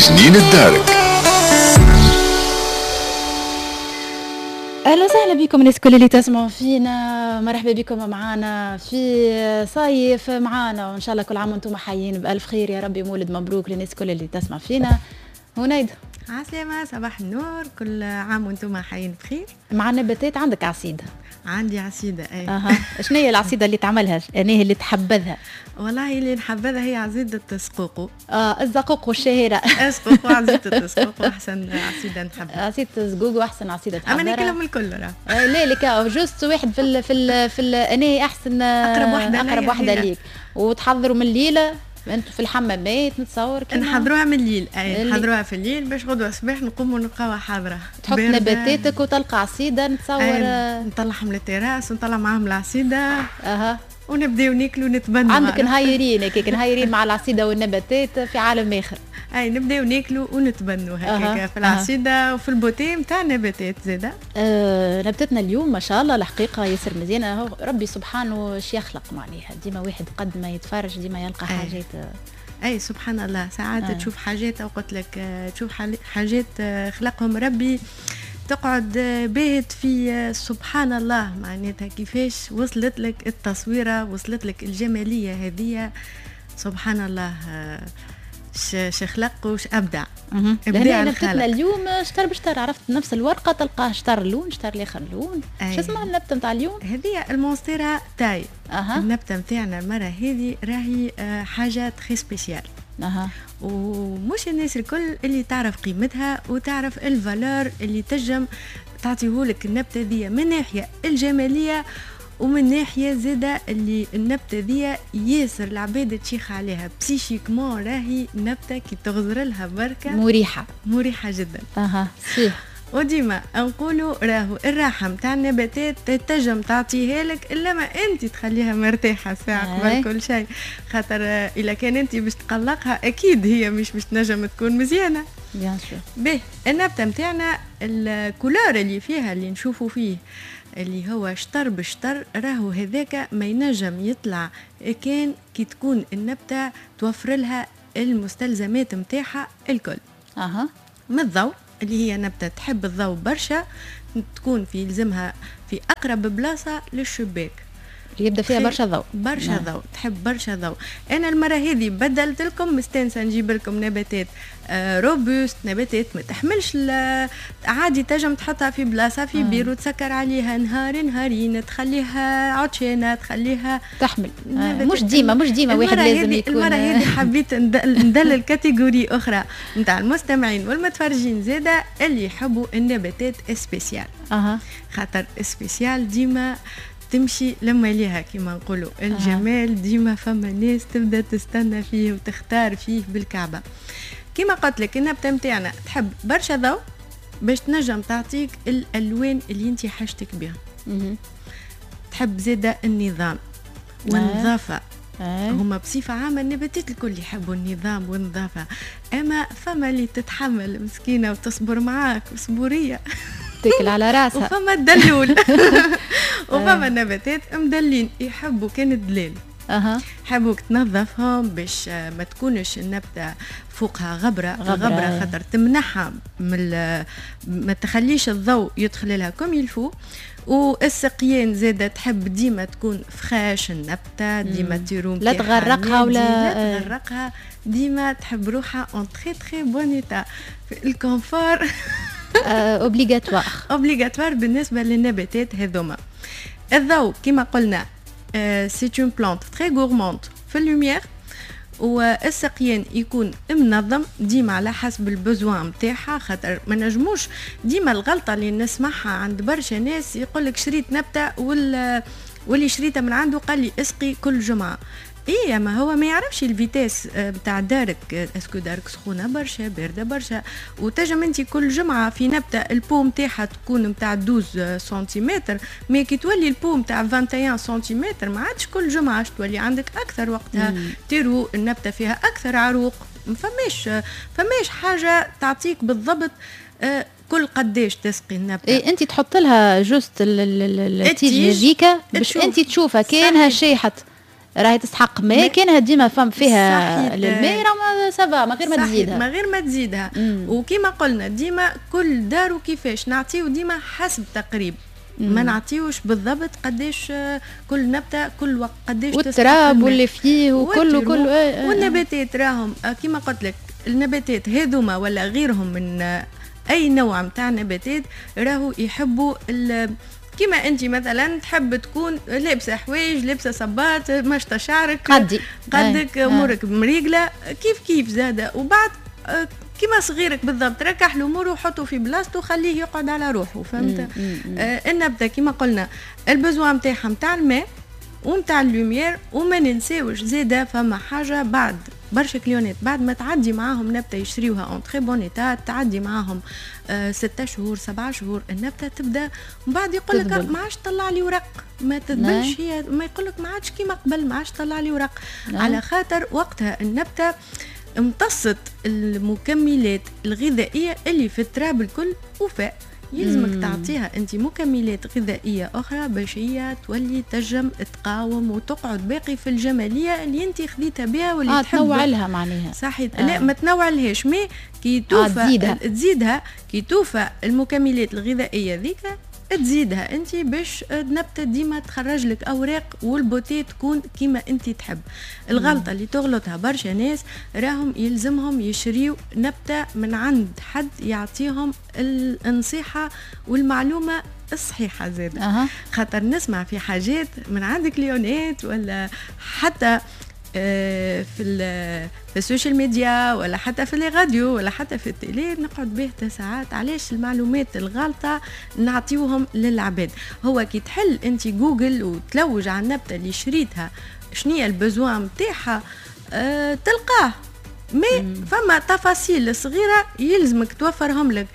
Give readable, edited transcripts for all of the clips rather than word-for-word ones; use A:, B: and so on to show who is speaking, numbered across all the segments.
A: جنينة دارك.
B: اهلا وسهلا بكم الناس كل اللي تسمعوا فينا، مرحبا بكم معنا في صيف معنا، وان شاء الله كل عام وانتم حيين بالف خير يا ربي. مولد مبروك للناس كل اللي تسمع فينا. هنيد
C: عسلامة، صباح النور، كل عام وانتم حيين بخير.
B: مع النباتات عندك عصيدة؟
C: عندي عصيدة اي.
B: شنو هي العصيدة اللي تعملها؟ يعني اللي تحبذها؟
C: والله اللي نحبذها هي عصيدة السقوقو.
B: الزقوق والشهيرة.
C: السقوقو، عصيدة السقوقو احسن عصيدة نحبها.
B: عصيدة الزقوق واحسن عصيدة تحبها.
C: اما ناكلهم الكل راه.
B: لا لك juste واحد في ال انا احسن
C: اقرب واحدة،
B: اقرب واحدة ليك. وتحضروا من الليلة انتوا في الحمامات نتصور؟
C: كيما نحضروها من الليل، اي نحضروها في الليل باش غدوه الصباح نقوموا نلقاوها حاضره.
B: تحط نباتاتك وتلقى عصيده نتصور.
C: نطلعهم للتراس ونطلع معاهم العصيده. ونبداو ناكلوا ونتبنوا.
B: عندك نهايرين هكاك، نهايرين مع العصيده والنباتات في عالم اخر.
C: اي نبداو ناكلوا ونتبنوا هكاك في العصيده وفي ال beauté نتاع النباتات زاده.
B: نبتتنا اليوم ما شاء الله الحقيقة ياسر مزيانه، ربي سبحانه اش يخلق، معناها ديما واحد قد ما يتفرج ديما يلقى حاجات.
C: اي سبحان الله، ساعات تشوف حاجات، او قلت لك تشوف حاجات خلقهم ربي تقعد باهت في سبحان الله، معناتها كيفاش وصلت لك التصويره، وصلت لك الجمالية هذه، سبحان الله شخلق وش ابدع.
B: ابداع. نبتتنا اليوم شطر بشطر، عرفت نفس الورقة تلقاه شطر لون شطر الاخر لون. شو اسمها النبتة نتاع اليوم؟
C: هذه المونستيرا تاي. النبتة نتاعنا المرة هذه راهي حاجة très spéciale. ومش الناس الكل اللي تعرف قيمتها وتعرف ال valeur اللي تجم تعطيهولك النبتة ذي من ناحية الجمالية ومن ناحية زاده اللي النبتة ذي ياسر العباد تشيخ عليها psychiquement، راهي نبته كي تغزر لها بركة
B: مريحه،
C: مريحه جدا.
B: صحيح.
C: وديما نقولوا راهو الراحة نتاع النباتات تنجم تعطيها لك الا ما انت تخليها مرتاحة ساعة قبل كل شيء، خاطر اذا كان انت باش تقلقها اكيد هي مش باش تنجم تكون مزيانه.
B: bien sûr.
C: به النبتة نتاعنا ال couleur اللي فيها اللي نشوفوا فيه اللي هو شطر بشطر، راهو هذاك ما ينجم يطلع كان كي تكون النبتة توفر لها المستلزمات نتاعها الكل. من الضوء اللي هي نبتة تحب الضوء برشا، تكون في يلزمها في أقرب بلاصة للشباك
B: يبدا فيها برشا ضوء.
C: برشا ضوء، تحب برشا ضوء. انا المرة هذه بدلت لكم، مستانسه نجيب لكم نباتات robustes، نباتات ما تحملش عادي تنجم تحطها في بلاصة في بير وتسكر عليها نهار نهارين، تخليها عطشانة، تخليها
B: تحمل. مش ديما، مش ديما واحد لازم يكون.
C: المرة هذه حبيت ندلل catégorie اخرى نتاع المستمعين والمتفرجين زاده اللي يحبوا النباتات spéciales. خاطر spécial ديما تمشي لما ليها كما نقولوا الجمال. ديما فما ناس تبدا تستنى فيه وتختار فيه بالكعبة. كما قلت لك النبتة نتاعنا تحب برشا ضوء باش تنجم تعطيك الالوان اللي انت حاجتك بها. تحب زاده النظام والنظافة. هما بصفة عامة النباتات الكل يحبوا النظام والنظافة، أما فما اللي تتحمل مسكينة وتصبر معاك وصبورية
B: تاكل على راسها،
C: وفما الدلول، وفما النباتات مدلين يحبوا كان الدلال. حبوك تنظفهم باش ما تكونش النبتة فوقها غبرة، غبرة خاطر تمنعها من ما تخليش الضوء يدخل لها comme il faut. والسقيان زادة تحب ديما تكون fraîche النبتة، ديما terreau
B: لا تغرقها ولا
C: لا تغرقها، ديما تحب روحها en très très bon état، ال confort
B: obligatoire.
C: obligatoire بالنسبة للنباتات هذوما. الضوء كما قلنا c'est une plante très gourmande في ال lumière، والسقيان يكون منظم ديما على حسب ال besoin نتاعها، خاطر ما نجموش ديما الغلطة اللي نسمعها عند برشا ناس يقول لك شريت نبته واللي شريتها من عنده قال لي اسقي كل جمعه. ايه ما هو ما يعرفش ال vitesse بتاع دارك، est-ce que دارك سخونة برشا باردة برشا، وتجم انت كل جمعه في نبته ال pot نتاعها تكون نتاع 12 سنتيمتر، mais كي تولي ال pot نتاع 21 سنتيمتر ما عادش كل جمعه، تولي عندك اكثر وقتها terreau النبتة فيها اكثر عروق، ما فماش حاجة تعطيك بالضبط كل قداش تسقي النبتة.
B: إيه انت تحط لها juste ال tige هذيك باش انت تشوفها كانها شيحت. راهي تستحق ماء، كانها ديما فم فيها الماء راه ça va، ما غير ما تزيدها،
C: ما غير ما تزيدها. وكما قلنا ديما كل دار وكيفاش نعطيو، ديما حسب تقريب، ما نعطيوش بالضبط قداش كل نبته كل وقت قداش،
B: والتراب واللي فيه وكل كل.
C: والنباتات راهم كما قلت لك، النباتات هذوما ولا غيرهم من اي نوع نتاع نباتات راهو يحبوا، كما انت مثلا تحب تكون لابسه حوايج، لابسه صباط، مشطه شعرك،
B: قدي
C: قدك، امورك مريقله، كيف كيف زاده. وبعد كما صغيرك بالضبط، ركح الامور وحطه في بلاصته وخليه يقعد على روحه، فهمت؟ النبتة كما قلنا ال besoin نتاعها نتاع الماء ونتاع ال lumière. وما ننساوش زاده فما حاجه، بعد برشا client ات بعد ما تعدي معاهم نبته يشريوها en très bon état، تعدي معاهم 6 شهور 7 شهور، النبتة تبدا من بعد يقول لك ما عادش طلع لي ورق، ما تذبلش هي، ما يقول لك ما عادش كيما قبل، ما عادش طلع لي ورق. على خاطر وقتها النبتة امتصت المكملات الغذائية اللي في التراب الكل وفاء. يلزمك تعطيها انت مكملات غذائية اخرى باش هي تولي تجم تقاوم وتقعد باقي في الجمالية اللي انت خذيتها بها واللي
B: تحب. تنوع لها معناها.
C: صحيح. لا ما تنوع لهاش، mais كي توفى
B: تزيدها.
C: تزيدها كي توفى المكملات الغذائية ذيك، تزيدها انت باش النبتة ديما تخرج لك اوراق وال beauté تكون كيما انت تحب. الغلطة اللي تغلطها برشا ناس، راهم يلزمهم يشريو نبته من عند حد يعطيهم النصيحة والمعلومه الصحيحة زاد. خاطر نسمع في حاجات من عند client ات ولا حتى في ال social media ولا حتى في les radios ولا حتى في ال télé، نقعد به ساعات علاش المعلومات الغالطه نعطيوهم للعباد. هو كي تحل انت جوجل وتلوج على النبتة اللي شريتها شنية ال besoin نتاعها تلقاه، mais فما تفاصيل صغيرة يلزمك توفرهم لك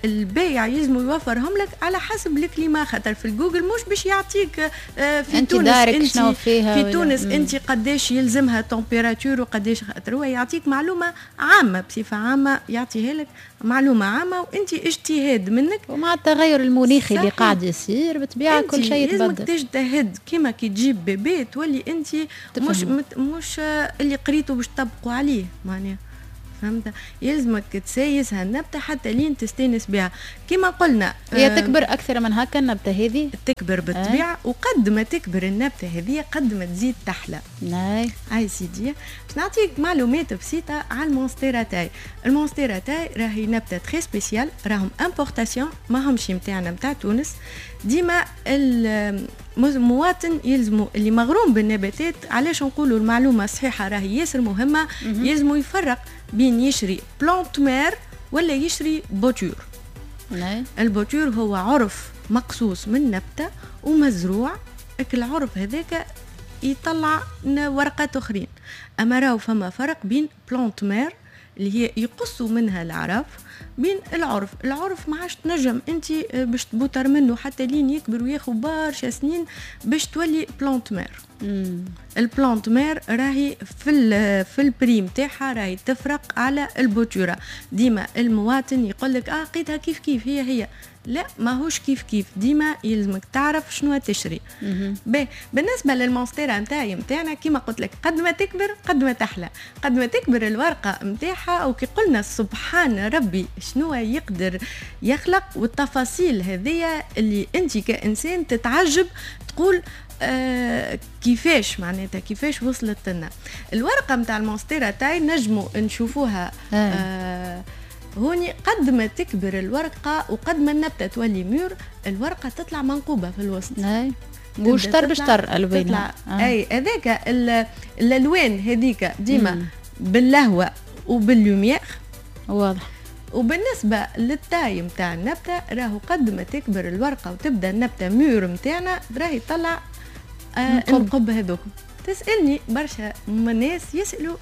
C: البايع، يلزم يوفرهم لك على حسب ال climat، خاطر في الجوجل مش باش يعطيك في
B: انت
C: تونس
B: دارك
C: انت
B: شنو فيها
C: في تونس انت قداش يلزمها température وقداش، خاطر هو يعطيك معلومة عامه، بصفة عامة يعطيها لك معلومة عامه، وانت اجتهاد منك.
B: ومع التغير المناخي اللي قاعد يصير بالطبيعة كل شيء
C: يتبدل، لازمك تجتهد كيما كي تجيب bébé تولي انت مش اللي قريته باش تطبقوا عليه معناها، فهمت؟ يلزمك تسايس هالنبته حتى لين تستانس بها كما قلنا.
B: هي تكبر اكثر من هكا النبتة هذه؟
C: تكبر بالطبيعه. وقد ما تكبر النبتة هذه قد ما تزيد تحلى. هاي سيدي باش نعطيك معلومات بسيطة على المونستيرا تاي. المونستيرا تاي راهي نبته très spéciale، راهم importation، ما همش نتاعنا نتاع تونس. ديما المواطن يلزمو اللي مغروم بالنباتات، علاش نقولوا المعلومة الصحيحة راهي ياسر مهمه، يلزمو يفرق بين يشري plante mère ولا يشري bouture. ال bouture هو عرف مقصوص من نبته ومزروع، العرف هذاك يطلع ورقات اخرين. اما راهو فما فرق بين plante mère اللي هي يقصوا منها العرف بين العرف. العرف ما عادش تنجم انت باش تبوتر منه حتى لين يكبر وياخذ برشا سنين باش تولي plante mère. ال plante mère راهي في ال prix نتاعها راهي تفرق على ال bouture. ديما المواطن يقول لك اه لقيتها كيف كيف، هي هي، لا ماهوش كيف كيف، ديما يلزمك تعرف شنو تشري. باهي، بالنسبة للمونستيرا نتاعي نتاعنا كيما قلت لك قد ما تكبر قد ما تحلى، قد ما تكبر الورقة نتاعها، وكي قلنا سبحان ربي شنو يقدر يخلق، والتفاصيل هذيا اللي انت كانسان تتعجب تقول كيفاش معناتها كيفاش وصلت لنا الورقة نتاع المونستيرا تاي. نجموا نشوفوها هوني، قد ما تكبر الورقة وقد ما النبتة تولي mûre، الورقة تطلع منقوبه في الوسط.
B: وشطر بشطر الوانها.
C: اي هذاك الالوان هذيك ديما باللهوه وبال lumière. وبالنسبة لل taille نتاع النبتة راهو قد ما تكبر الورقة وتبدا النبتة mûre نتاعنا راهي تطلع النقب هذوك. تسالني برشا ناس يسالوا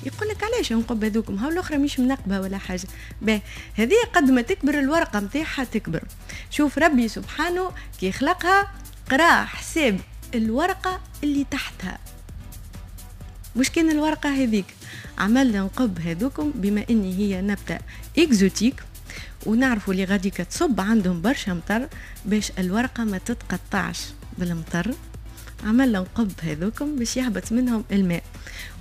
C: يقول لك علاش نقب هذوكم، هاو الاخرى مش منقبة ولا حاجه. باهي، هذه قد ما تكبر الورقة نتاعها تكبر. شوف ربي سبحانه كي خلقها قرا حساب الورقة اللي تحتها، مش كان الورقة هذيك، عملنا نقب هذوكم. بما اني هي نبته exotique ونعرفوا اللي غادي تصب عندهم برشا مطر، باش الورقة ما تتقطعش بالمطر. عمل نقب هذوكم باش يهبط منهم الماء،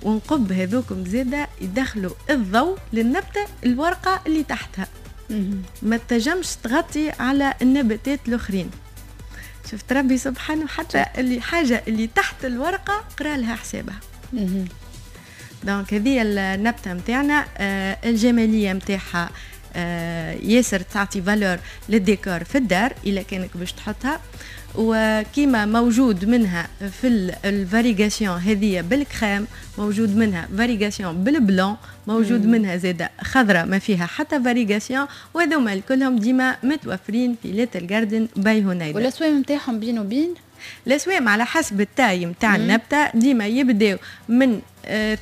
C: ونقب هذوكم زاده يدخلوا الضوء للنبته الورقة اللي تحتها، ما تنجمش تغطي على النباتات الاخرين. شفت ربي سبحانه حتى اللي حاجة اللي تحت الورقة قرا لها حسابها. donc هذه النبتة نتاعنا الجمالية نتاعها ياسر تعطي valeur لل décor في الدار الا كانك باش تحطها. وكيما موجود منها في ال variegation هذه بالكريم، موجود منها variegation بال blanc، موجود منها زاده خضراء ما فيها حتى variegation، وهذوما كلهم ديما متوفرين في Little Garden by هنيدا.
B: والاسوام نتاعهم بين وبين؟
C: الاسوام على حسب ال taille نتاع النبتة، ديما يبداو من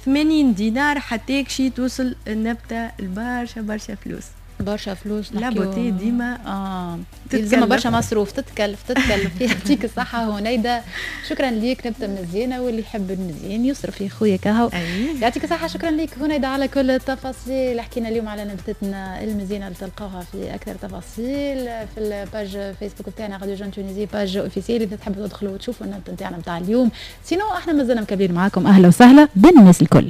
C: 80 دينار حتى كشي توصل النبتة البرشا برشا فلوس.
B: برشا فلوس.
C: la beauté ديما
B: يلزمها برشا مصروف، تتكلف تتكلف. يعطيك الصحة هنيدة، شكرا ليك. نبتة مزيانة واللي يحب المزيان يصرف يا خويا كهو. يعطيك الصحة، شكرا ليك هنيدة على كل التفاصيل. حكينا اليوم على نبتتنا المزيانة اللي تلقاوها في أكثر تفاصيل في ال page فيسبوك بتاعنا Radio Jeune Tunisie page officielle، إذا تحبوا تدخلوا وتشوفوا النبتة نتاعنا نتاع اليوم. sinon احنا مازلنا مكملين معاكم، أهلا وسهلا بالناس الكل.